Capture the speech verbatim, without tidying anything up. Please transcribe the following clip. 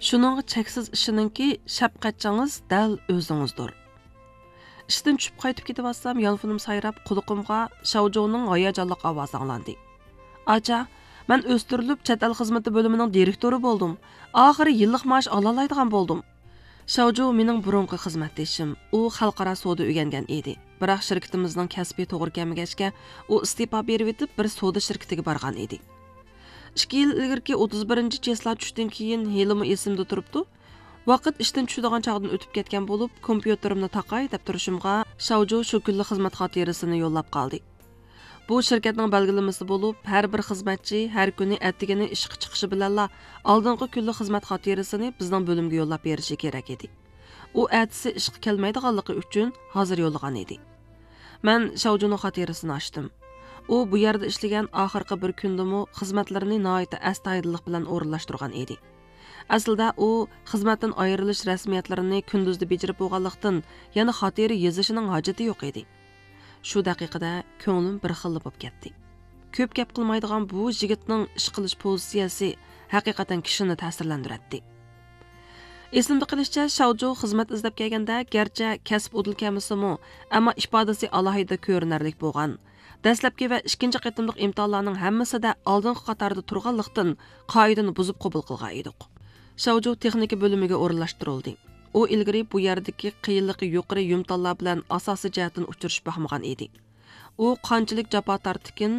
شۇنىڭغا چەكسىز ئىشىنىڭكى، شەپقەتچىڭىز دەل ئۆزىڭىزدۇر. ئىشتىن چۈشۈپ قايتىپ كېتىۋاتسام، يانفونۇم سايراپ، قۇلىقىمغا شاۋجۇنىڭ ھاياجانلىق ئاۋازى ئاڭلاندى. «ئاچا، مەن ئۆستۈرۈلۈپ، چەت ئەل خىزمىتى بۆلۈمىنىڭ دىرېكتورى بولدۇم. ئاخىرى يىللىق مائاش ئالالايدىغان بولدۇم.» شاۋجۇ مېنىڭ بۇرۇنقى خىزمەتدىشىم. ئۇ خەلقئارا سودا ئۆگەنگەن ئىدى. بىراق شىركىتىمىزنىڭ كەسپى توغرا كەلمىگەچكە، ئۇ ئىستېپا بېرىۋېتىپ، بىر سودا شىركىتىگە بارغان ئىدى. ئىككى يىل ئىلگىرىكى ئوتتۇز بىرىنچى چېسلا چۈشتىن كېيىن ھېلىمۇ ئېسىمدە تۇرۇپتۇ. ۋاقىت ئىشتىن چۈشىدىغان چاغدىن ئۆتۈپ كەتكەن بولۇپ، كومپيۇتېرىمنى تاقاي دەپ تۇرۇشۇمغا، شاۋجۇ شۇ كۈنلۈك خىزمەت خاتىرىسىنى يوللاپ قالدى. بۇ شىركەتنىڭ بەلگىلىمىسى بولۇپ، ھەر بىر خىزمەتچى ھەر كۈنى ئەتىگىنى ئىشقا چىقىشى بىلەنلا ئالدىنقى كۈنلۈك خىزمەت خاتىرىسىنى بىزنىڭ بۆلۈمگە يوللاپ بېرىشى كېرەك ئىدى. ئۇ ئەتىسى ئىشقا كەلمەيدىغانلىقى ئۈچۈن ھازىر يوللىغان ئىدى. مەن شاۋجۇنىڭ خاتىرىسىنى ئاچتىم. ئۇ بۇ يەردە ئىشلىگەن ئاخىرقى بىر كۈندىمۇ خىزمەتلىرىنى ناھايىتى ئەستايىدىللىق بىلەن ئورۇنلاشتۇرغان ئىدى. ئەسلىدە ئۇ خىزمەتتىن ئايرىلىش رەسمىيەتلىرىنى كۈندۈزدە بېجىرىپ بولغانلىقتىن، يەنە خاتىرە يېزىشنىڭ ھاجىتى يوق ئىدى. شۇ دەقىقىدە كۆڭلۈم بىر خىللا بولۇپ كەتتى. كۆپ گەپ قىلمايدىغان بۇ يىگىتنىڭ ئىش قىلىش پوزىتسىيەسى ھەقىقەتەن كىشىنى تەسىرلەندۈرەتتى. ئېسىمدە قېلىشىچە، شاۋجۇ خىزمەت ئىزدەپ كەلگەندە گەرچە كەسىپ ئۇدۇل كەلمىسىمۇ، ئەمما ئىپادىسى ئالاھىدە كۆرۈنەرلىك بولغان. دەسلەپكى ۋە ئىككىنچى قېتىملىق ئىمتىھانلارنىڭ ھەممىسىدە ئالدىنقى قاتاردا تۇرغانلىقتىن، قائىدىنى بۇزۇپ قوبۇل قىلغان ئىدۇق. شاۋجۇ تېخنىكا بۆلۈمىگە ئورۇنلاشتۇرۇلدى. ئۇ ئىلگىرى بۇ يەردىكى قىيىنلىقى يۇقىرى يۇمتاللار بىلەن ئاساسىي جەھەتتىن ئۇچرىشىپ باقمىغان ئىدى. ئۇ قانچىلىك جاپا تارتتىكىن،